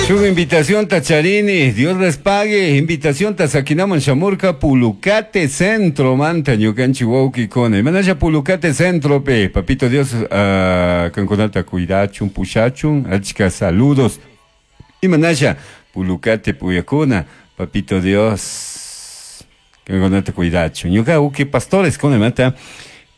Shuk invitación charini, Dios les pague. Invitación saquinaman shamurka Pulucate Centro manta ñukanchik wawkikuna. Imanasha Pulucate Centro pe, papito Dios kankunata cuidachun, pushachun, achka saludos. Imanasha Pulucate puyakuna, papito Dios kankunata cuidachun. Ñuka uki pastores kuna manta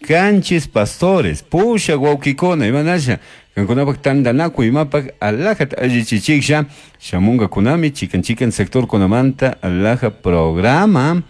kanchis pastores, pusha wawkikuna, imanasha kankunapak tantanakuy imapak alajata allichichiksha shamunga kunami chikan chikan sector kunamanta alaja programa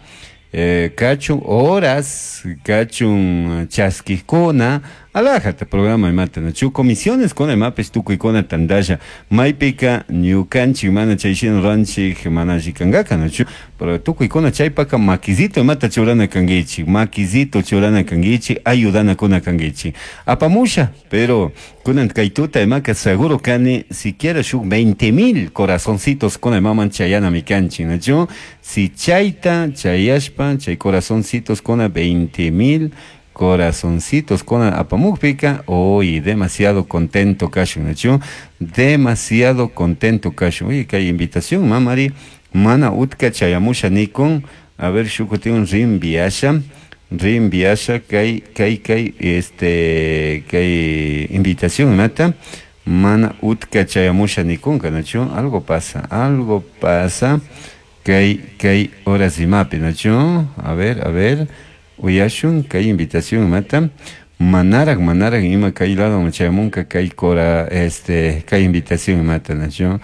kachun horas kachun chaskikuna alajata programa imata nachu comisiones kuna imapish tukuykuna tantalla maypika ñukanchik mana chay shina ruranchik mana alli kankaka nachu pero tukuykuna chaypaka makisito imata churana kankichik makisito churana kankichik ayudanakuna kankichik apamusha pero kunan kay tuta imaka seguro kani siquiera shuk 20,000 corazoncitos kuna imaman chayanami kanchik nachu si chayta chayashpa chay corazoncitos kuna 20,000 corazoncitos kuna apamukpika hoy demasiado contento kashun nachu demasiado contento kashun. Oye, kay invitación mamari mana utka chayamusha nikun a ver shukutin rinviasha rinviasha kay kay kay este kay invitación mata mana utka chayamusha nikunka nachu algo pasa kay kay horas imapi nachu a ver uyashun kay invitación mata manarak manarak ima kay lado chayamunka kay cora este kay invitación mata nachu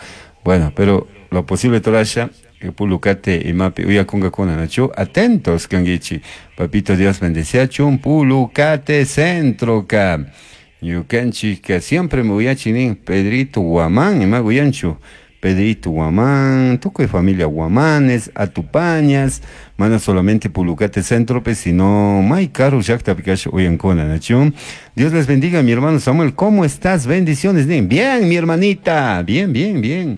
bueno pero lo posible torasha Pulucate imapi uyakunga kuna nachu atentos kangichi papito Dios bendeciachun Pulucate centro ka ñukanchik ka siempre me uyachi nin Pedrito Guamán ima uyanchu Pedrito Guamán, tukuy familia Guamanes, Atupañas, mana solamente Pulucate Centro, pues, sino may karu llaqtapi kasha uyankuna, nachu. Dios les bendiga, mi hermano Samuel, ¿cómo estás? Bendiciones, nin. Bien, mi hermanita, bien, bien, bien.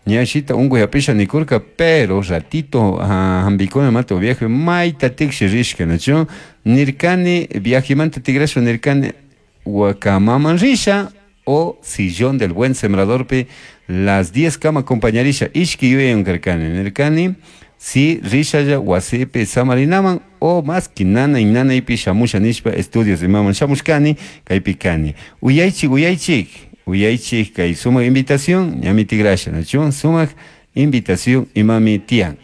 Ñashita unguy hapisha nikurka, pero ratito hambikuna mato viaje, mayta tiksi rishka, nachu. Nirkani, viajemanta tigrasho nirkani, wakamaman risha, o sillón del buen sembrador pe las 10 kama acompañarisha ishki yuyan karkani nirkani si rishalla wasipi samarinaman o más que nana y nana ipi shamusha nishpa estudios imaman shamushkani kaypi kani uyaychik uyaychik uyaychik kay sumak invitación ñami tigrasha nachu sumak invitación imami tiyan.